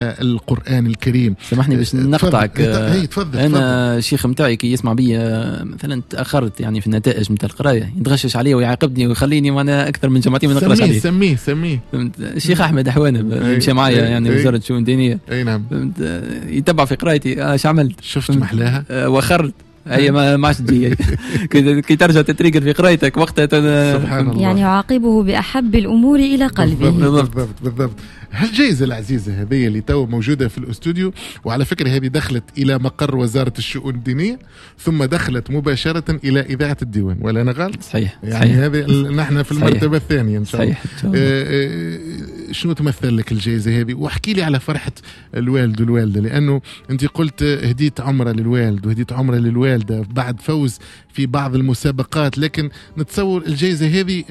القرآن الكريم. سامحني باش نقطعك. تفضل. أنا الشيخ متاعي كي يسمع بي مثلا تأخرت يعني في النتائج نتاع القراية يتغشش علي ويعاقبني ويخليني وانا أكثر من جماعتي ما نقراش عليه. سميه الشيخ أحمد حوانب مشى معايا يعني وزارة الشؤون الدينية. أي نعم. يتبع في قرايتي اش عملت؟ شفت محلاها؟ وخرت هي ما عادش تجي كي ترجع تتريقل في قرايتك وقتها. سبحان الله. يعني يعاقبه بأحب الأمور إلى قلبه. بالضبط بالضبط. هالجائزة العزيزة هذه اللي تو موجودة في الاستوديو، وعلى فكرة هذه دخلت إلى مقر وزارة الشؤون الدينية ثم دخلت مباشرة إلى إذاعة الديوان، ولا أنا غلط؟ صحيح. يعني هذه نحن في المرتبة الثانية إن شاء الله. شنو تمثل لك الجائزة هذه؟ واحكي لي على فرحة الوالد والوالدة، لأنه أنت قلت هديت عمرة للوالد وهديت عمرة للوالدة بعد فوز في بعض المسابقات، لكن نتصور الجائزة هذه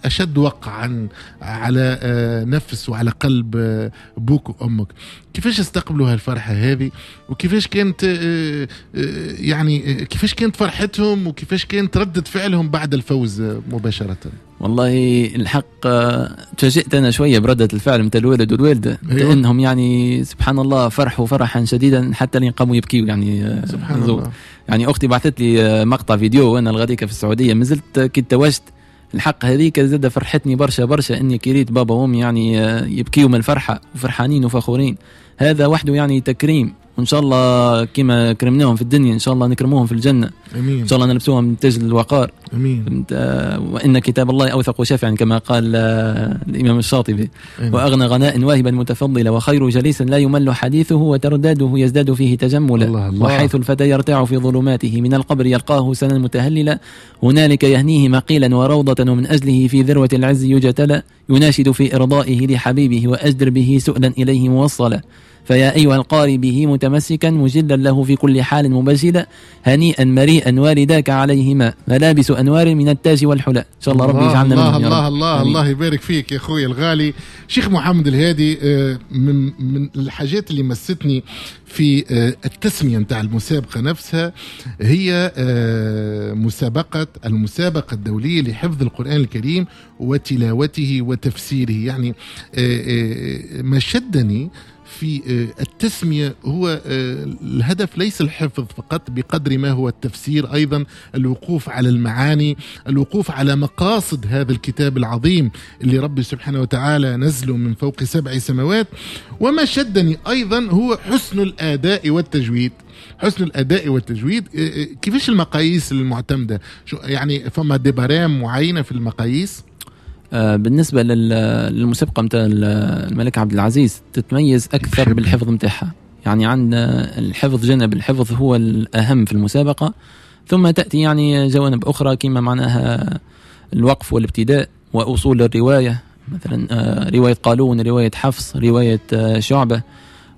أشد وقعا على نفس وعلى قلب بوك وأمك. كيفاش استقبلوا هالفرحة هذه؟ وكيفاش كانت يعني كيفاش كانت فرحتهم وكيفاش كانت ردة فعلهم بعد الفوز مباشرة؟ والله الحق تفاجئت أنا شوية بردة الفعل متاع الوالد والوالدة. أيوة. لأنهم يعني سبحان الله فرحوا فرحا شديدا حتى اللي قاموا يبكيوا يعني. سبحان الله. يعني أختي بعثت لي مقطع فيديو وأنا الغديكة في السعودية مازلت كي توجت. الحق هذيك زاد فرحتني برشا برشا اني كريت بابا وامي يعني يبكيوا من الفرحة وفرحانين وفخورين. هذا وحده يعني تكريم، وان شاء الله كما كرمناهم في الدنيا ان شاء الله نكرموهم في الجنة. امين. ان شاء الله نلبسوهم تاج الوقار. امين. وان كتاب الله اوثق شافعا كما قال الامام الشاطبي. أمين. واغنى غناء واهبا متفضلا وخير جليس لا يمل حديثه وترداده يزداد فيه تجملا. الله الله. وحيث الفتى يرتاع في ظلماته من القبر يلقاه سنا متهللا هنالك يهنيه مقيلا وروضة ومن أجله في ذروة العز يجتلى يناشد في إرضائه لحبيبه وأجدر به سؤلا إليه موصلا فيا أيها القاري به متمسكا مجلا له في كل حال مبجلا هنيئا مريئا والداك عليهما ملابس أنوار من التاج والحلى. إن شاء الله ربي يجعلنا منهم. الله الله الله. الله يبارك فيك يا أخوي الغالي شيخ محمد الهادي. من الحاجات اللي مستني في التسمية نتاع المسابقة نفسها هي مسابقة المسابقة الدولية لحفظ القرآن الكريم وتلاوته وتفسيره. يعني ما شدني في التسمية هو الهدف ليس الحفظ فقط بقدر ما هو التفسير أيضا، الوقوف على المعاني، الوقوف على مقاصد هذا الكتاب العظيم اللي ربي سبحانه وتعالى نزله من فوق 7 سماوات. وما شدني أيضا هو حسن الأداء والتجويد. حسن الأداء والتجويد كيفاش المقاييس المعتمدة؟ يعني فما دبرام معينة في المقاييس؟ بالنسبة للمسابقة متاع الملك عبد العزيز تتميز أكثر بالحفظ متاعها. يعني عندنا الحفظ، جانب الحفظ هو الأهم في المسابقة، ثم تأتي يعني جوانب أخرى كما معناها الوقف والابتداء وأصول الرواية، مثلا رواية قالون، رواية حفص، رواية شعبة.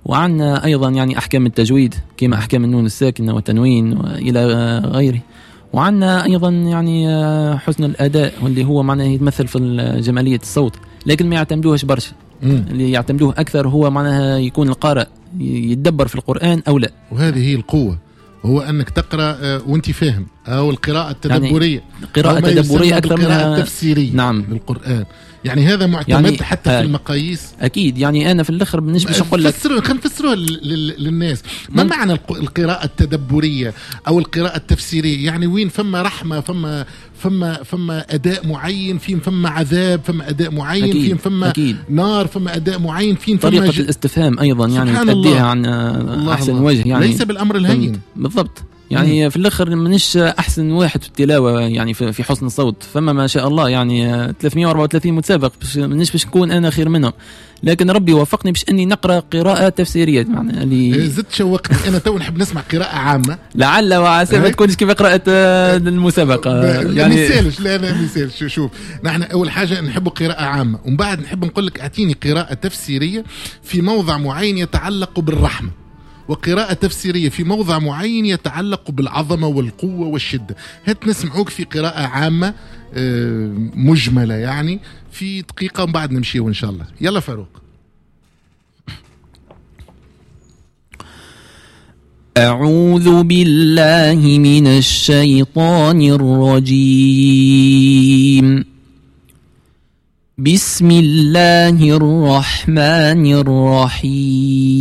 وعندنا أيضا يعني أحكام التجويد كما أحكام النون الساكنة والتنوين وإلى غيره. وعندنا أيضا يعني حسن الأداء واللي هو معناه يتمثل في جمالية الصوت، لكن ما يعتمدوهش برشا. اللي يعتمدوه أكثر هو معناها يكون القارئ يتدبر في القرآن أو لا. وهذه هي القوة، هو أنك تقرأ وأنت فاهم، أو القراءة التدبرية، يعني قراءة تدبرية أكثر من القراءة التفسيرية. نعم. للقرآن. يعني هذا معتمد يعني حتى في المقاييس. أكيد. يعني أنا في الآخر مش باش نقول لك خلينا نفسروها للناس. ما معنى القراءة التدبرية أو القراءة التفسيرية؟ يعني وين فما رحمة، فما فما فما أداء معين، فين فما عذاب، فما أداء معين، أكيد. فين فما أكيد. نار، فما أداء معين، فين فما طريقة الاستفهام أيضا يعني تأديها عن أحسن الله. وجه، يعني ليس بالأمر الهين. بالضبط. يعني في الآخر منش أحسن واحد في التلاوة يعني في حسن الصوت، فما ما شاء الله يعني 334 متسابق، منش باش نكون أنا خير منهم، لكن ربي وفقني باش أني نقرأ قراءة تفسيرية. معناها اللي زدت شوقتني أنا تو نحب نسمع قراءة عامة لعل وعسى ما تكونش كيف قراءة المسابقة. يعني ما يسالش. لا لا ما يسالش. شوف، نحن أول حاجة نحب قراءة عامة، ومن بعد نحب نقول لك أعطيني قراءة تفسيرية في موضع معين يتعلق بالرحمة، وقراءة تفسيرية في موضع معين يتعلق بالعظمة والقوة والشدة. هات نسمعوك في قراءة عامة مجملة يعني في دقيقة ومن بعد نمشي وإن شاء الله. يلا فاروق. أعوذ بالله من الشيطان الرجيم. بسم الله الرحمن الرحيم.